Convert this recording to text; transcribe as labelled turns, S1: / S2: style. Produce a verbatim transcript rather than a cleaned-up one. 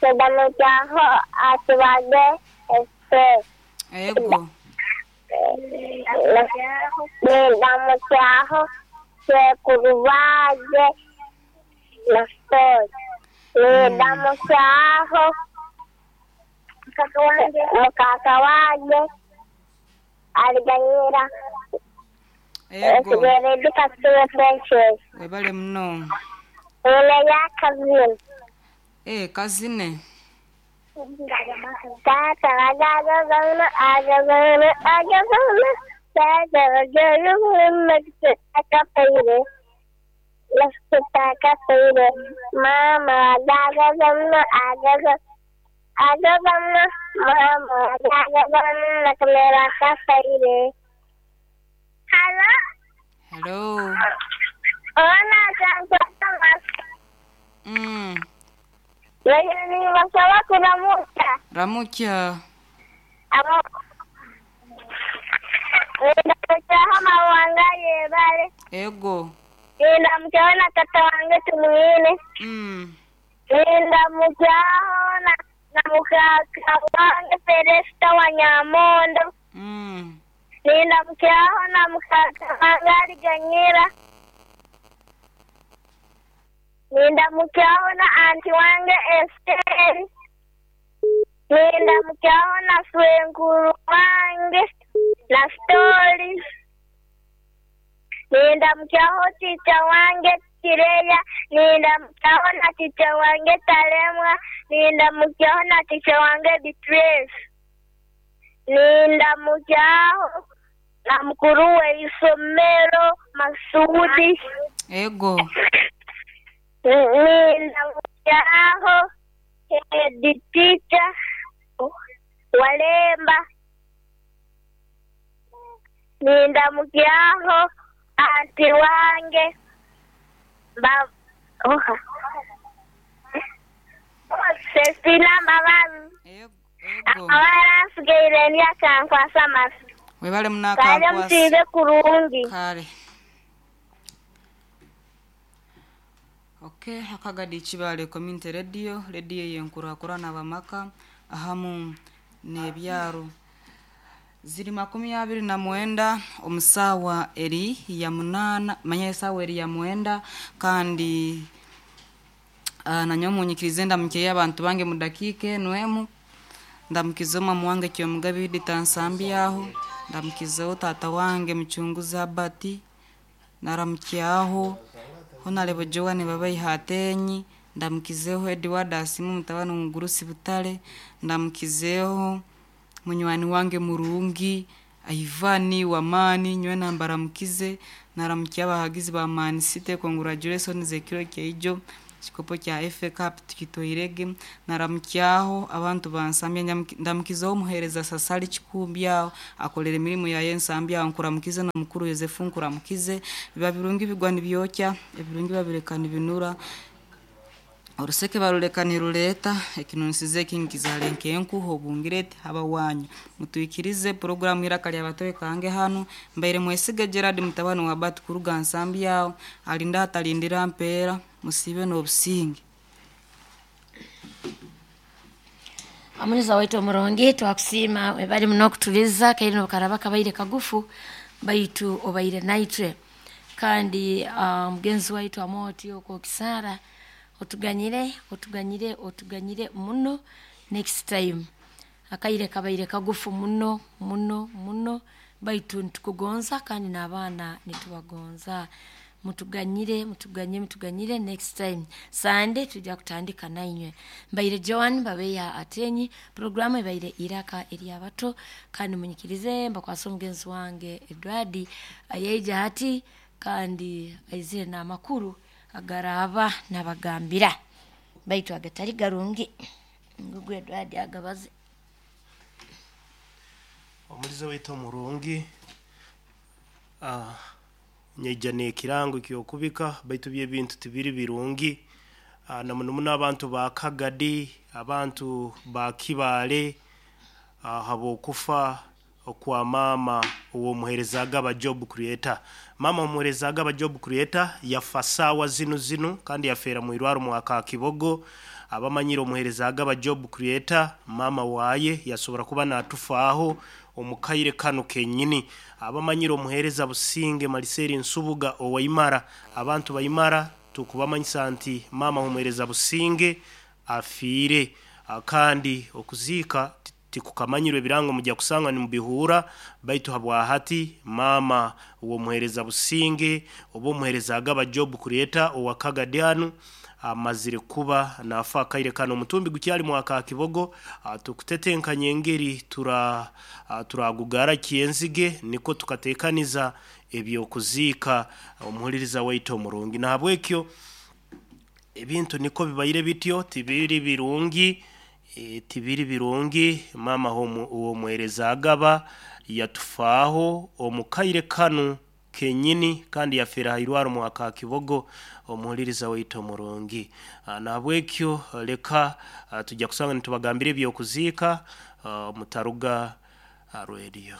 S1: Ndamukyaho atubage Esther.
S2: Ego.
S1: Ndamukyaho Sekurubage Nestor. Ndamukyaho mukaka wange aliganyira
S2: Ego.
S1: esigeredde Kasule Precious.
S2: Webale muno.
S1: Ono yakazina.
S2: Eh, kazine.
S1: Tata agazana agazana agazana tata agazana akapaire akapaire mama agazana agazana agazana mama agazana kamera akapaire. Hello.
S2: Hello.
S1: Ona kankwata.
S2: Mm.
S1: Lakini basaba kuramuka.
S2: Ramukya.
S1: Abo ndamukyaho mawanga yebale.
S2: Ego.
S1: Ndamukyaho na tata wange tumwine.
S2: Mm.
S1: Ndamukyaho na na mukaka wange Felesta wa Nyamondo.
S2: Mm.
S1: Ndamukyaho na mukaka wange Aliganyira. Ndamukyaho na anti wange Esther. Ndamukyaho na swenkuru wange na Stori. Ndamukyaho chicha wange Kireya. Ndamukyaho na chicha wange Talemwa. Ndamukyaho na chicha wange Beatrice. Ndamukyaho na mukuru we isomero Masudi.
S2: Ego.
S1: Ndamukyaho head teacher Walemba. Ndamukyaho anti wange ba oha Cecilia Mbabazi.
S2: Ego. Ego.
S1: Abaransigaire ndyakankwasa amasi.
S2: Webale
S1: Kale
S2: munakankwasa.
S1: musiibe kurungi.
S2: Kale. Okay, akagadi Kibale Community Radio, radio yenkurakurana abamaka ahamu n'ebyaro. Ziri makumi abiri na mwenda omusawa eri ya munana, manya esawa eri ya mwenda kandi uh, nanyo munyikirize ndamukye abantu bange mudakike nwemu ndamukizeho mama wange Kyomugabi Tansambyaho, ndamukizeho tata wange Muchunguzi Abati, naramukyaho Honorable Joan Babaihatenyi, ndamukizeho Edward Asimu mutabani Mugurusi Butale, ndamukizeho munywani wange Murungi Ivani Wamani nywe nambaramukize, naramukiye abahagizi ba Man City, congratulations ekiro kyeijo kikopo kya F A Cup tukitoirege, naramukyaho abantu bansambya, ndamukizeho omuhereza Sasali Kikumbyaho akolera emirimu yaye nsambyaho, nkuramukize na mukuru Yosefu nkuramukize, biba birungi bigwa nibyokya, ebirungi babireka nibinura, oruseke baruleka niruleta ekinonsize ekinkizale nkenkuho obungirete abawanyu mutuikirize programu iraka lya batoe kange hano mbaire mwesige Gerard mutabani wa Bati kuruga nsambyaho alinda atalindira mpeera musibe n'obusinge.
S3: Amuniza waitu omurongi twakusiima webali muno okutuliza kaire nokaraba kabaire kagufu baitu obaire naitwe kandi uh, mugenzi waitu amoti okwo kisara otuganyire otuganyire otuganyire muno next time akaire kabaire kagufu muno muno muno baitu nitukugonza kandi n'abaana nitubagonza mutuganyire mutuganye mutuganyire next time Sunday tujja kutandika nainywe. Mbaire Joan Babeya Atenyi, programu ebaire iraka eri abato kandi munyikirize mbakwasa omugenzi wange Edward ayeija hati kandi aizire n'amakuru agaraba nabagambira baitu agatari garungi ngugu Edward agabaze.
S4: Omulizo waitu omurungi ah nyeija n'ekirango ky'okubika baitu by'ebintu tibiri birungi ah, na muno muno abantu ba Kagadi, abantu ba Kibale ah, habwokufa okwa mama ow'omuheereza aba job creator. Mama omuheereza aba job creator yafa saawa zinu zinu kandi yafeera mu irwaro mwaka Kibogo. Abamanyire omuhereza agaba job creator, mama waye yasobora kuba natufaaho omukaire kanu kenyini. Abamanyire omuhereza Businge Maliseri Nsubuga owaimara, abantu baimara tukubamanyisa nti mama omuhereza Businge afiire. Kandi okuziika tikukamanyirwe, ebirango mujja kusanga nimubihura, baitu habwahati mama w'omuhereza Businge oba omuhereza agaba job creator owa Kagadianu amazire kuba nafa akaire kano. Omutumbi gukyali mwaka Kibogo, tukutetenkanya engeri tura turagugara kyenzige niko tukatekaniza ebyokuziika omuhuliriza waitu omurungi. Nahabwekyo ebintu niko bibaire bityo, tibiri birungi, e, tibiri birungi. Mama w'omuhereza agaba yatufaaho omukaire kanu kenyini kandi yafera hairwaro mwaka Kibogo, omuhuliriza waitu omurungi. Nahabwekyo leka tujja kusanga nitubagambira ebyokuziika mutaruga radio.